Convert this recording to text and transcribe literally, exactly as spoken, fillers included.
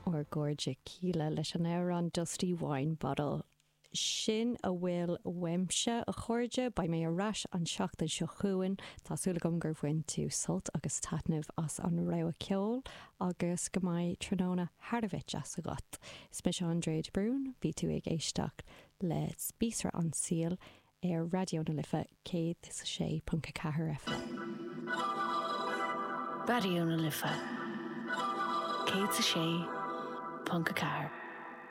Ár gcairde Kíla leis an amhrán Dusty Wine Bottle. Sin a bhfuil uaimse a chairde beidh mé ar ais an seachtain seo chugainn Tá súil agam gur bhain tú sult agus taitneamh as an rogha ceoil agus go mbeidh tráthnóna thar a bheith deas agat. Is mise Andrea de Brún, bhí tú ag éisteacht le Spíosra an tSaoil ar Raidió na Life céad is a sé ponc a ceathair FM. Raidió na Life. Céad a sé ponc a ceathair.